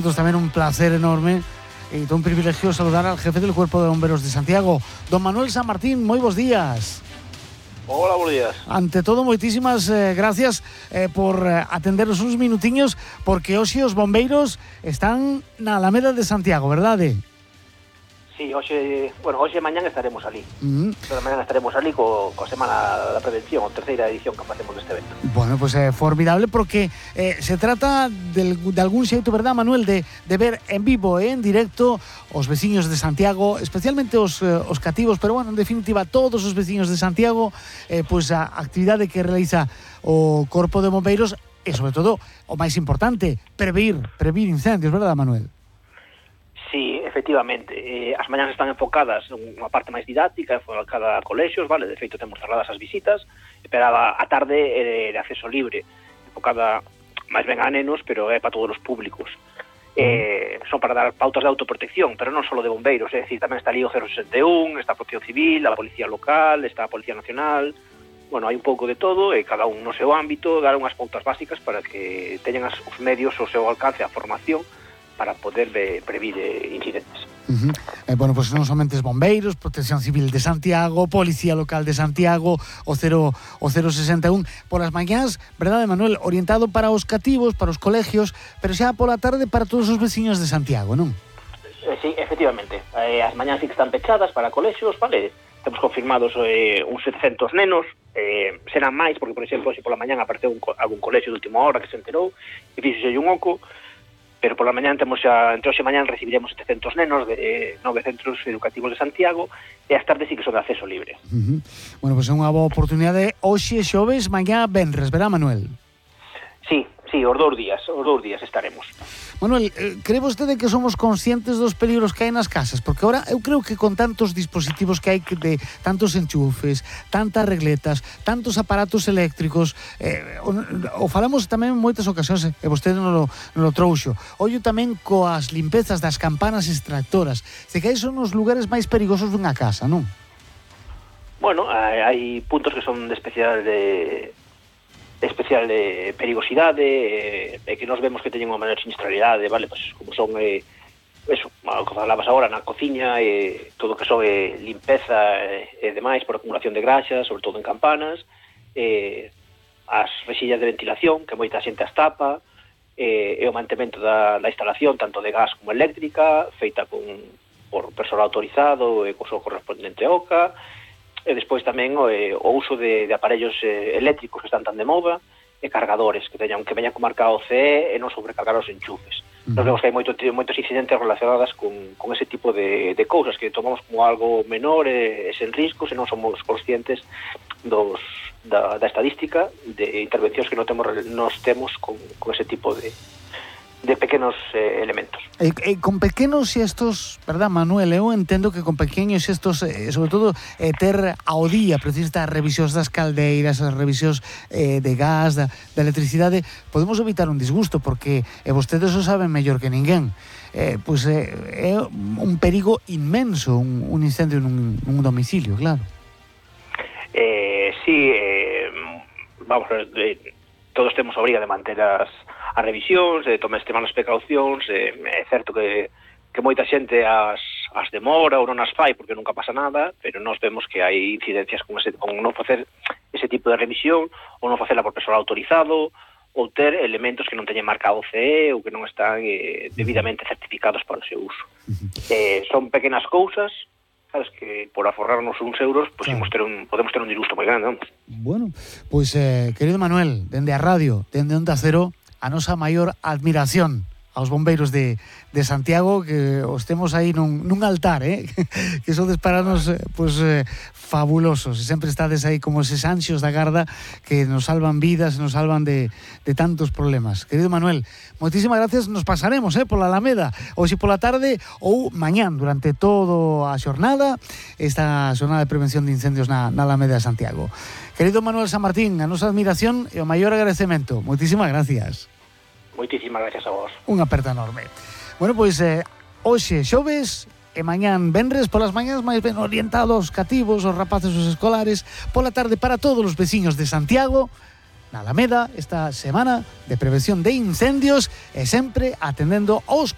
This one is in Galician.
También un placer enorme y todo un privilegio saludar al jefe del Cuerpo de Bomberos de Santiago, don Manuel San Martín. Muy buenos días. Hola, buenos días. Ante todo, muchísimas gracias por atendernos unos minutiños, porque hoy os bombeiros están na Alameda de Santiago, ¿verdad? Sí, hoxe e mañán estaremos ali. Pero mañán estaremos ali co Semana da Prevención, a terceira edición que facemos deste evento. Bueno, pues formidable, porque se trata de algún xeito, verdad, Manuel, de ver en vivo en directo os veciños de Santiago, especialmente os cativos, pero bueno, en definitiva, todos os veciños de Santiago, pues a actividade que realiza o Corpo de Bombeiros e, sobre todo, o máis importante, prevenir incendios, verdad, Manuel? Sí, efectivamente. As mañás están enfocadas en unha parte máis didáctica, enfocada a colexios, vale? De feito, temos cerradas as visitas, pero a tarde é de acceso libre, enfocada máis ben a nenos, pero é para todos os públicos. Son para dar pautas de autoprotección, pero non só de bombeiros, é dicir, tamén está ali o 061, está a Protección Civil, a Policía Local, está a Policía Nacional. Bueno, hai un pouco de todo, e cada un no seu ámbito dar unhas pautas básicas para que teñan os medios ao seu alcance, a formación, para poder previr incidentes. Bueno, pues non somente os bombeiros, Protección Civil de Santiago, Policía Local de Santiago, o 061, por as mañás, verdade, Manuel, orientado para os cativos, para os colegios, pero xa pola tarde para todos os veciños de Santiago, non? Sí, efectivamente. As mañás sí que están pechadas para colexios, vale? Temos confirmados uns 700 nenos, serán máis, porque, por exemplo, se pola mañán apareceu algún colexio de última hora que se enterou e fíxose un oco, pero pola mañán temos xa, entre hoxe e mañán recibiremos 700 nenos de 9 centros educativos de Santiago, e as tardes sí que son de acceso libre. Bueno, pois é unha boa oportunidade. Hoxe xoves, mañá venres, verá, Manuel? Sí, os dous días estaremos. Manuel, cree vostede que somos conscientes dos peligros que hai nas casas? Porque ahora eu creo que con tantos dispositivos que hai, de tantos enchufes, tantas regletas, tantos aparatos eléctricos, o falamos tamén en moitas ocasións, e vostede non lo trouxo. Ollo tamén coas limpezas das campanas extractoras. Se que aí son os lugares máis perigosos dunha casa, non? Bueno, hai puntos que son de especial perigosidade, e que nos vemos que teñen unha maior sinistralidade, vale? Pues como son eso, o que falabas agora na cociña, todo o que son limpeza e demais por acumulación de graxas, sobre todo en campanas, as rexillas de ventilación, que moita xente as tapa, e o mantemento da instalación, tanto de gas como eléctrica, feita por persoal autorizado e co seu correspondente OCA. E despois tamén o uso de aparellos eléctricos que están tan de moda, e cargadores que veñan con marca OCE e non sobrecargar os enchufes. Nos vemos que hai moitos incidentes relacionados con ese tipo de cousas que tomamos como algo menor e sen riscos, e non somos conscientes da estadística de intervencións que nos temos con ese tipo de pequenos elementos. Con pequenos xestos, verdad, Manuel, eu entendo que con pequenos xestos, sobre todo, ter ao día, precisamente as revisións das caldeiras, as revisións de gas, da electricidade, podemos evitar un disgusto, porque vostedes o saben mellor que ninguén. Pois é un perigo inmenso un incendio nun domicilio, claro. Sí, vamos, todos temos a obriga de manter as revisións, de tomar as precaucións. É certo que moita xente as demora ou non as fai porque nunca pasa nada, pero nós vemos que hai incidencias con non facer ese tipo de revisión, ou non facela por persoal autorizado, ou ter elementos que non teñen marca OCE ou que non están debidamente certificados para o seu uso. Son pequenas cousas, sabes, que por aforrarnos uns euros, pues, claro, podemos ter un disgusto moi grande, non? Bueno, pois, querido Manuel, dende a radio, dende Onda Cero, a nosa maior admiración aos bombeiros de Santiago, que os temos aí nun altar, que sodes para nos fabulosos, e sempre estades aí como eses anxos da garda que nos salvan vidas, nos salvan de tantos problemas. Querido Manuel, moitísimas gracias. Nos pasaremos pola Alameda, hoxe pola tarde ou mañán, durante toda a xornada, esta xornada de prevención de incendios na Alameda de Santiago. Querido Manuel San Martín, a nosa admiración e o maior agradecemento. Moitísimas gracias. Moitísimas gracias a vos. Unha aperta enorme. Bueno, pois, hoxe xoves e mañán venres, polas mañás máis ben orientados aos cativos, aos rapaces, os escolares, pola tarde para todos os veciños de Santiago, na Alameda, esta semana de prevención de incendios, e sempre atendendo aos